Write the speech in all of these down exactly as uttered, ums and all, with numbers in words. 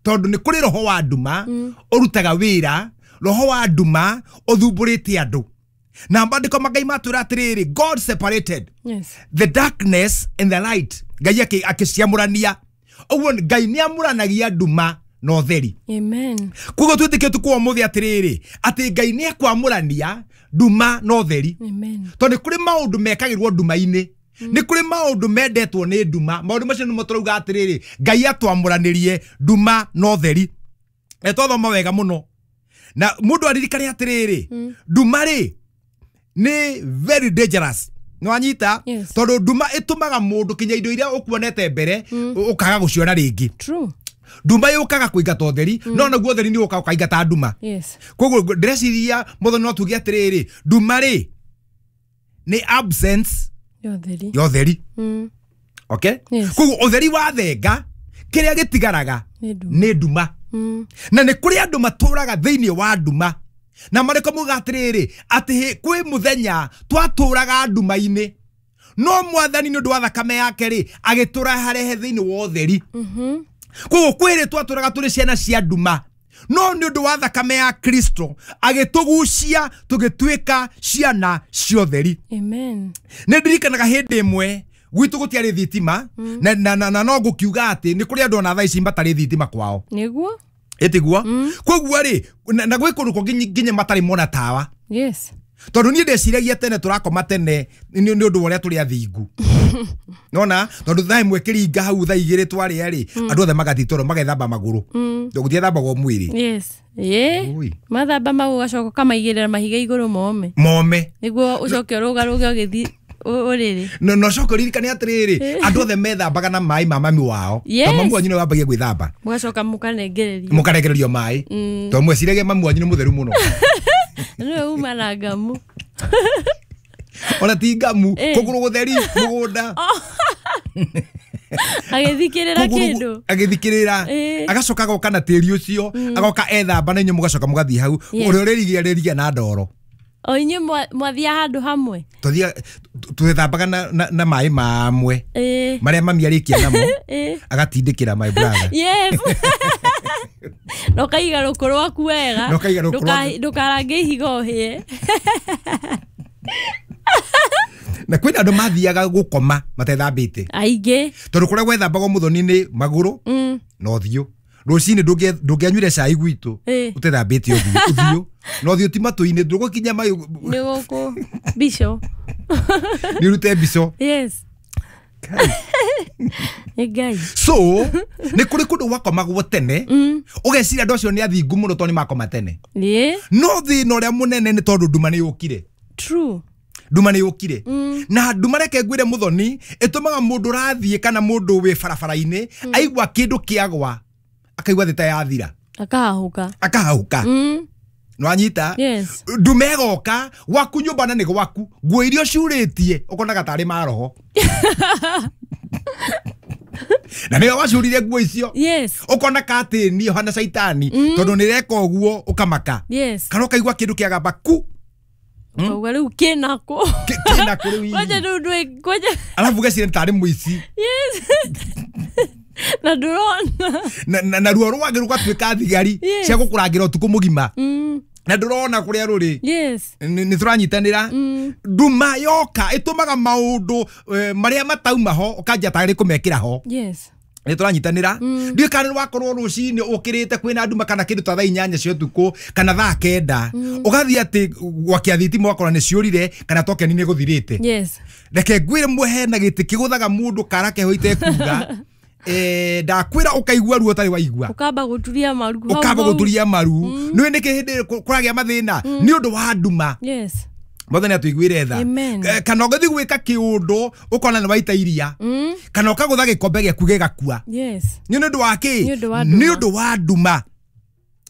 Tondu nĩ kũrĩ roho wa nduma ũrutaga wĩra, roho wa nduma ũthumbũrĩte andũ. Na maandĩko ma Ngai matwĩra atĩrĩrĩ, God separated Yes. the darkness and the light. Ngai akĩ- akĩciamũrania. Ũguo Ngai nĩ amũranagia nduma na ũtheri. Amen. Koguo twĩtĩkie tukũ ũmũthĩ atĩrĩrĩ, atĩ Ngai nĩ ekwamũrania nduma na ũtheri. Amen. Tondũ nĩ kũrĩ maũndũ mekagĩrwo nduma-inĩ, nĩ kũrĩ maũndũ mendetwo nĩ nduma. Maũndũ macio nĩmo tũrauga atĩrĩrĩ, Ngai atwamũranĩrie nduma na ũtheri. Na twathoma wega mũno na mũndũ aririkane atĩrĩrĩ, nduma rĩ nĩ very dangerous. Nĩwanyita? Yes. Tondũ nduma ĩtũmaga mũndũ kinya indo iria ũkuonete mbere ũkaga gũciona rĩngĩ. True. Nduma yũkaga kũingata ũtheri, no naguo ũtheri nĩ ũkaga ũkaingata nduma. Yes. Koguo ndĩreciria mũthoni no tuge atĩrĩrĩ, nduma rĩ nĩ absence Ya ũtheri. ya ũtheri. Mm. Okay. Yes. Koguo ũtheri wathenga, kĩrĩa gĩtigaraga Nĩ nduma. nĩ nduma. Mm. Na nĩ kũrĩ andũ matũraga thĩinĩ wa nduma, na marĩko muga atĩrĩrĩ, atĩ hĩ- kwĩ mũthenya twatũraga nduma-inĩ, no Mwathani nĩ ũndũ wa thakame yake rĩ agĩtũraharehe thĩinĩ wa ũtheri. Mhm. Koguo kwĩrĩ twatũraga tũrĩ ciana cia nduma, no nĩ ũndũ wa thakame ya Kristo agĩtũgucia tũgĩtuĩka ciana cia ũtheri. Amen. Nĩ ndirikanaga hĩndĩ ĩmwe gwitũ gũtiarĩ thitima, na, na, na, na no ngũkiuga atĩ nĩ kũrĩ andũ ona thaa ici matarĩ thitima kwao. Nĩguo? Ĩtiguo? Koguo rĩ, na, na gwĩ kũndũ kũngĩ nginya matarĩ mona tawa. Yes. Tondũ niĩ ndeciragia tene tũrakoma tene nĩ nĩ ũndũ wa ũrĩa tũrĩ athingu, nona tondũ thaa ĩmwe kĩringa hau, thaa igĩrĩ twarĩa rĩ, andũ othe magathiĩ toro magethamba magũrũ, tondũ gũtiethambagwo mwĩrĩ. Yes. Ĩĩ. Ui. Mathamba mau ũgacoka ũkamaigĩrĩra mahiga igũrũ mome. Mome. Nĩguo ũcoke ũrũgarũge ũgĩthiĩ ũ- ũrĩrĩ. No no coka ũririkane atĩrĩrĩ, andũ othe methambaga na maĩ ma mami wao. Yes. Tondũ mami wanyu nĩwe wambagia gwĩthamba. Mũgacoka mũkanengererio. Mũkarekererio maĩ, tondũ mweciragia mami wanyu nĩ mũtheru mũno. Nĩwe uma na ngamu. Ona ti ngamu. Eh. Kũgũrũ gũtheri mũgũnda. Agĩthikĩrĩra Kũgũrũ- kĩndũ. Agĩthikĩrĩra. Eh. Agacoka agoka na tĩri ũcio, agoka ethamba na inyuĩ mũgacoka mũgathiĩ hau. Yes. Ũrĩa ũrĩrigia rĩrigia na ndoro. O inyuĩ mwa- mwathiaga handũ hamwe. Twathia twethambaga na, na, na maĩ mamwe Ĩĩ. marĩa mami arĩkia namo, Ĩĩ. agatindĩkĩra my brother. Yes, na ũkaiga rũkũ rwaku wega. Na ũkaiga rũkũ Ndũka- rwaku. Ndũkarange ihiga ũhĩe. Na kwĩna andũ mathiaga gũkoma matethambĩte. Aingĩ. Tondũ kũrĩa gwethambagwo mũthoni nĩ magũrũ Mm. na ũthiũ. Rũcinĩ ndũngĩ- ndũngĩanyuire cai gwitũ Ĩĩ. ũtethambĩte ũthiũ ũthiũ na ũthiũ ti matũ-inĩ, ndũgũkinya maĩ. Nĩ gũkũ mbico. Nĩ ũrute mbico. Yes, nĩ Ngai. So nĩ kũrĩ kũndũ gwakomagwo tene, ũgeciria andũ acio nĩ athingu mũno tondũ nĩ makoma tene. Ĩĩ. No thĩna ũrĩa mũnene nĩ tondũ nduma nĩ yũkire. True. Nduma nĩ yũkire, na nduma, reke ngwĩre mũthoni, ĩtũmaga mũndũ ũrathiĩ kana mũndũ wĩ barabara-inĩ aigua kĩndũ kĩagwa akaigua thĩ ta yathira. Akahahũka. Akahauka. Mm. Nĩwanyita? Yes. Nduma ĩgoka gwaku nyũmba na nĩ gwaku, nguo iria ũcurĩtie ũkonaga tarĩ maroho na nĩwe wacurire nguo icio. Yes. Ũkona katĩni ũhana caitani tondũ nĩ reka ũguo ũkamaka. Yes. Kana ũkaigua kĩndũ kĩagamba ku. Ũkauga rĩu kĩnakũ? Kĩ- kĩna kũ rĩu Kwanja hihi? rĩu ndwĩ kwanja. Arabu ũgeciria nĩ tarĩ mũici. Yes, na ndũrona. na, na, na ruo rwangĩ rũgatuĩka thigari Yes. cia gũkũrangĩra ũtukũ mũgima Mm. na ndũrona kũrĩa rũrĩ. Yes. nĩ nĩ tũranyitanĩra? Nduma yoka ĩtũmaga maũndũ eh, marĩa matauma ho ũkanjia tarĩ kũmekĩra ho. Yes. Nĩ tũranyitanĩra? Ndiũĩ kana nĩ wakorwo rũcinĩ ũkĩrĩte kwĩna nduma kana kĩndũ ta thaa inyanya cia ũtukũ kana thaa kenda, ũgathiĩ atĩ gwakia thitima ũgakora nĩ ciũrire kana tokeni nĩ gũthirĩte. Yes. Reke ngwĩre mwe, hena gĩtĩ kĩgũthaga mũndũ kara keho itekuga. Eh, ndakwĩra ũkaigua ruo ũtarĩ waigua. Ũkamba gũturia maru hau Ũkamba hau. Gũturia maru. Nĩũĩ nĩkĩ hĩndĩ ĩyo kũragĩa mathĩna? Nĩ ũndũ wa nduma. Yes. Mwathani atũiguĩre tha. Amen. Eh, kana ũgĩthiĩ gwĩka kĩũndũ ũkona nĩ waita iria, Mm. kana ũkagũtha gĩkombe gĩaku gĩgakua. Yes. Nĩ ũndũ wa kĩ? Nĩ ũndũ wa nduma. Nĩ ũndũ wa nduma.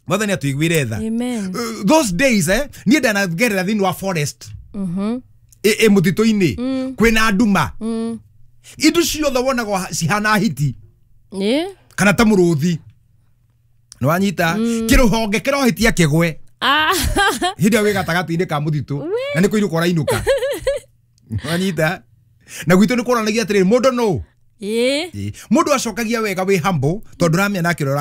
Mwathani atũiguĩre tha. Amen. Uh, those days, eh, niĩ ndanagerera thĩinĩ wa forest, Mhm. ĩ ĩ mũtitũ-inĩ kwĩna nduma, Mm. indo ciothe wonaga cihana hiti Ĩĩ. kana ta mũrũthi. Nĩwanyita? Kĩrũhonge kĩrohĩtia kĩgwe Ah. hĩndĩ ĩyo wĩ gatagatĩ-inĩ ka mũtitũ na nĩ kũinũka ũrainũka. Nĩwanyita? Na gwitũ nĩ kũronanagia atĩrĩrĩ, mũndũ nũ. Ĩĩ. Ĩ, mũndũ acokagia wega wĩ humble tondũ ũramenya nake ũrĩa.